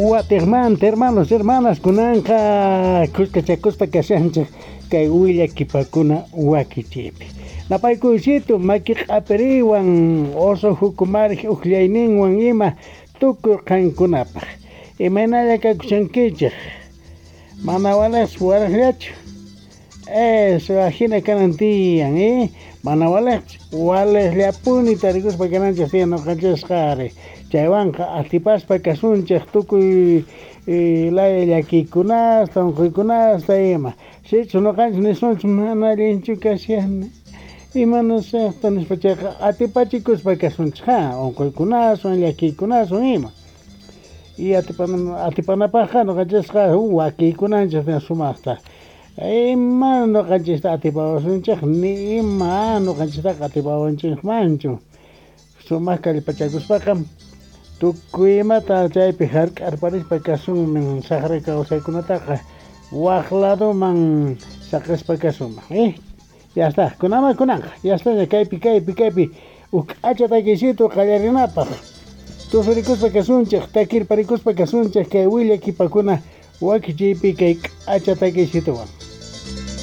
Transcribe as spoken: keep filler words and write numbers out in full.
Watiqmanta, hermanos, hermanas, kunanqa kuskachakuspa kashanchik kay willakipakuna wakichiypi. Napaykuysito maki q'apiriwan oso hukumariq uqllayninwan ima tukuy qankunapaq. Imaynalla kakushankichik? Mana waliqchu waliqllachu? Eso, ajina kanan tiyan, eh? Mana waliqchu, waliqllapuni tarikuspa kananchik tiyan ñuqanchikqa ari. Chaywanqa atipaspa kasunchik tukuy eh, laya llakiykunasta, unquykunasta ima. Sichus ñuqanchik nisunchik mana allinchu kashani, imanasaqta nispa chayqa atipachikuspa kasunchik ha, unquykunaswan, llakiykunaswan ima. Y atipana atipanapaqqa ñuqanchikqa wakiykunanchik tiyan sumaqta. Ima ñuqanchikta atipawasunchik ni ima ñuqanchiktaqa atipawanchikmanchu. Sumaq kallpachakuspaqa tukuy imata chaypi hark'arparispa kasunman saqra kawsaykunataqa waq ladoman saqispa kasunman, eh? Ya está, kunama kunanqa, ya está kaypi kaypi kaypi huk k'acha takiysitu qallarinapaq. Tusurikuspa kasunchik, takirparikuspa kasunchik kay willakipakuna wakichiypi kay k'acha takiysituwan.